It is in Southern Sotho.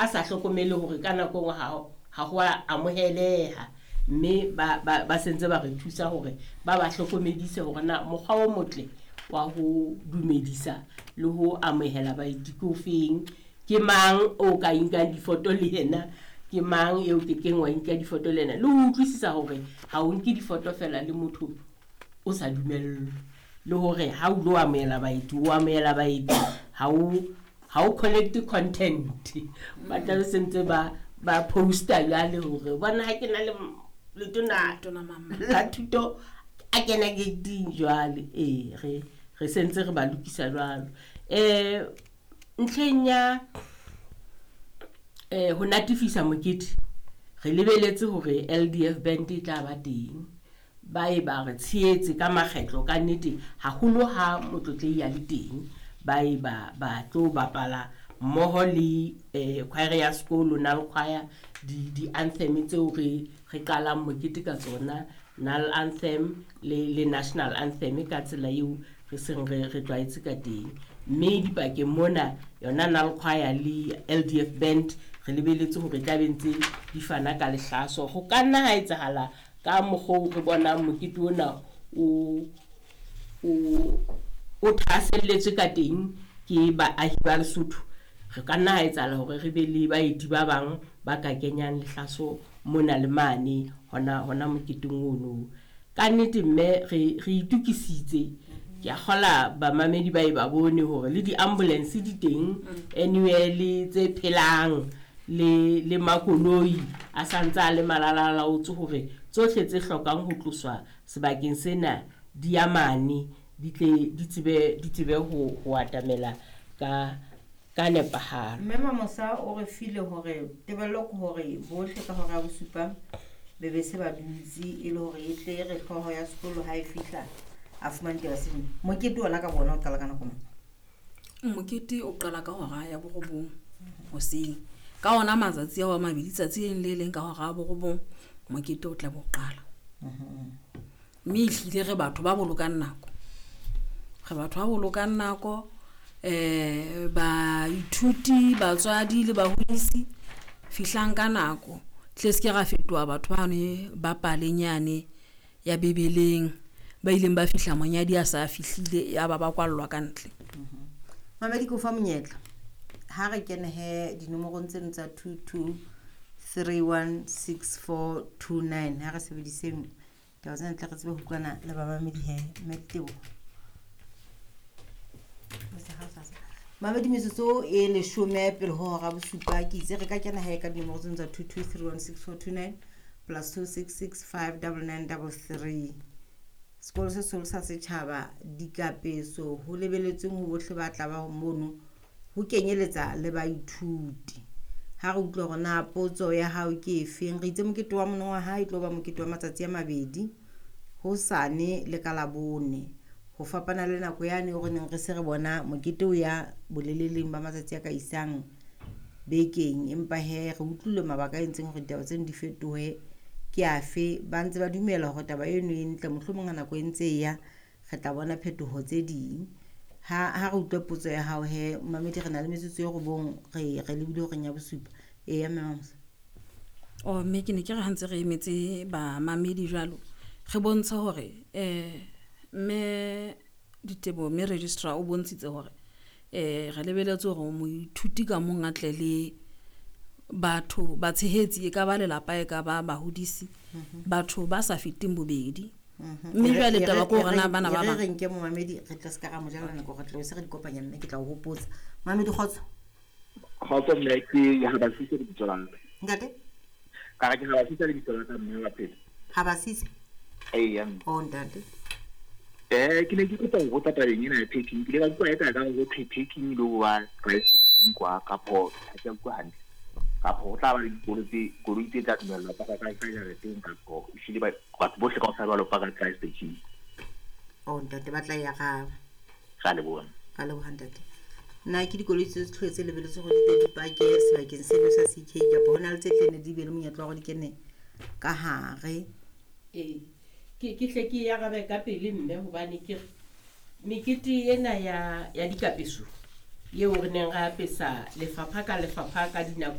A sa hlokomele hore ka nako e nngwe ha ho a amoheleha, mme ba sentse ba re thusa hore ba hlokomedise hore na mokgwa o motle wa ho dumedisa le ho amohela baeti ke ofeng, ke mang o ka inkang difoto le yena, ke mang eo ke keng wa inka difoto le yena, le ho utlwisisa hore ha o nke difoto fela le motho o sa dumellwe, le hore ha o lo amohela baeti, o amohela baeti, ha o collect content. Ba tla be sentse ba poster jwale hore bona ha ke na le letona la thuto a kena gating jwale. Ee, re sentse re ba lokisa jwalo. Ntlheng ya ho natefisa mokete, re lebeletse hore LDF band e tla ba teng. Ba e ba re tshehetse ka makgetlo ka nnete, haholo ha motlotlehi a le teng, ba e ba tlo bapala mmoho le choir ya sekolo, Nal Choir, di-anthem tseo re qalang mokete ka tsona, Nal Anthem le National Anthem ka tsela eo re seng re tlwaetse ka teng. Mme dipakeng mona yona Nal Choir le LDF band re lebeletse hore tla be ntse di fana ka lehlaso. Ho ka nna ha etsahala ka mokgwa oo re bonang mokete ona o thahaselletswe ka teng ke baahi ba Lesotho, re ka nna ha etsahala hore re be le baeti ba bang ba ka kenyang lehlaso mona le mane hona moketeng ono. Ka nnete mme re itukisitse. Ke a kgola bamamedi ba e ba bone hore le di-ambulance di teng anywhere, le tse phelang le makoloi a santse a le malalalaotse hore tsohle tse hlokang ho tloswa sebakeng sena di ya mane, di tle di tsebe ho atamela ka nepahalo. Mme Mamosa o re file hore tebello ke hore bohle ka hora ya bosupa be be se ba dutse, e le hore e tle re hlooho ya sekolo ha e fihla a fumane taba seno. Mokete ona ka bona o qala ka nako mang? Mokete o qala ka hora ya 9 hoseng. Ka ona matsatsi ao a mabedi, tsatsi le leng le leng ka hora ya 9 mokete o tla bo qala. Mme ehlile re batho ba bolokang nako. Re batho ba bolokang nako, baithuti, batswadi le bahodisi fihlang ka nako. Tle se ke ra fetoha batho ba ne ba palenyane ya Bibeleng, ba ileng ba fihla monyadi a sa fihlile ya ba ba kwallwa ka ntle. Mamedi, ke o fa monyetla. Ha re kene he dinomorong tseno tsa 22 31 64 29, ha re sebediseng taba tsena tle re tsebe ho utlwana le bamamedi he. Mme Teboho. Mamedi, metsotso e 10 pele ho hora bosupa, ke itse re ka kena he ka dinomoro tseno tsa 22 31 64 29 plus 2 6 6 5 double nine double three. Sekolo se seholo sa setjhaba dikapeso ho lebeletsweng ho bohle ba tla ba mono, ho kenyeletsa le baithuti. Ha re utlwe hore na potso ya hao ke efeng. Re itse mokete wa monongwaha e tlo ba mokete wa matsatsi a mabedi, hosane le ka Labone. Ho fapana le nako yane eo re neng re se re bona mokete o ya boleleleng ba matsatsi a ka isang bekeng, empa he re utlwile mabaka a entseng hore ditaba tseno di fetohe ke afe. Ba ntse ba dumela hore taba eno e ntle, mohlomong ha nako e ntse e ya re tla bona phetoho tse ding. Ha re utlwe potso ya hao he mamedi, re na le metsotso e 9, re lebile horeng ya bosupa. Eya, mme Mamosa. Oh, mme ke ne ke re ha ntse re emetse bamamedi jwalo, re bontshe hore mme Diteboho, mme registrar o bontshitse hore re lebeletse hore moithuti ka mong a tle le batho batshehetsi, e ka ba lelapa, e ka ba bahodisi, batho ba sa feteng bobedi. Mme jwale taba ke hore na bana ba bang re nke momamedi, re tla ska ra mo jala nako, re tla se re di kopanya, mme ke tla o hopotsa. Mamedi, kgotso. Kgotso mme, ke ha ba sise lebitso la ka. Ntate? Ka re ke ha ba sise lebitso la ka mme wa pele. Ha ba sise? Eya, mme. Oh, ntate. Ke ne ke kopa ho botsa tabeng ena ya packing. Ke ile ka utlwa eka ka ho thwe packing le ho ba price kwa kapo ha ke a utlwa hantle. Kapo ho tla ba le dikolo tse, koloi tse tla dumellwa paka ka jareteng, kapo ehlile batho bohle kaofela ba lo paka price station. Oh, ntate, ba tla ya ga. Ra leboha. Ra leboha, ntate. Na ke dikoloi tse tlhoe tse lebeletswe hore di tle di pake sebakeng seno sa CK, kapa ho na le tse tle ne di be le monyetla wa hore di kene ka hare? Ee, ke hle ke arabe ka pele mme, hobane ke re mekete ena ya dikapeso eo re neng re apesa lefapha ka lefapha ka dinako